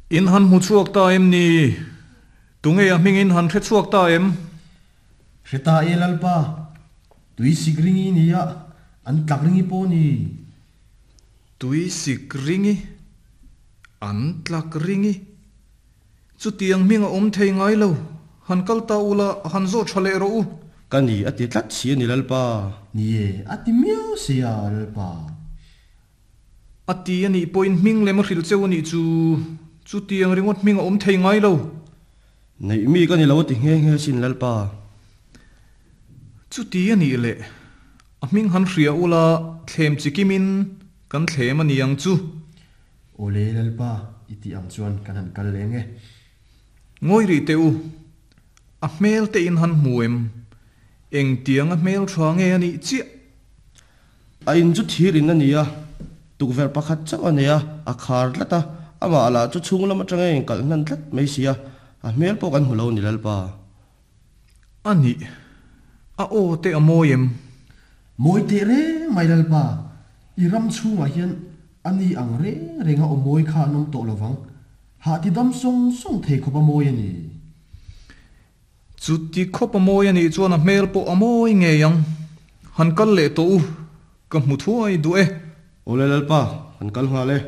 In han hmu chhuak ta em ni? Tunge a hming in han hre chhuak ta em? Hre ta e Lalpa, tui sik ringi nia, an tlak ringi pawh ni. Tui sik ringi, an tlak ringi. Chutiang hming a awm thei ngai lo, han kal ta ula, han zawh tha leh rawh u. Ka ni a ti tlat si a ni Lalpa. Ni e, a ti miau si a Lalpa. A ti a nih pawhin hming lem a hrilh cheu a nih chu, chutiang ringawt hming a awm thei ngai lo. Neih mi ka ni lo a ti nghe nghe sin Lalpa. Chuti a nih leh, a hming han hria ula thlem chikimin kan thlem a ni ang chu. Awle Lalpa, i tih ang chuan kan han kal leng e. Ngawi rih teh u, a hmel te in han hmu em? Engtiang a hmel tha nge a nih chiah? A in chu thir in a ni a, tukverh pakhat chauh a nei a, a khar tlat a, amah lah chu chhung lam atanga inkalh hnan tlat mai si a, a hmel pawh kan hmu lo a ni Lalpa. A nih, a aw te a mawi em? Mawi teh reng mai Lalpa, i ram chhungah hian a ni ang reng reng a aw mawi kha an awm tawh lovang, hah ti dam sawng sawng thei khawp a mawi a ni. Chuti khawp a mawi a nih chuan a hmel pawh a mawi ngei ang. Han kal leh tawh u, ka hmu thuai duh e. Awle Lalpa, kan kal nghal e.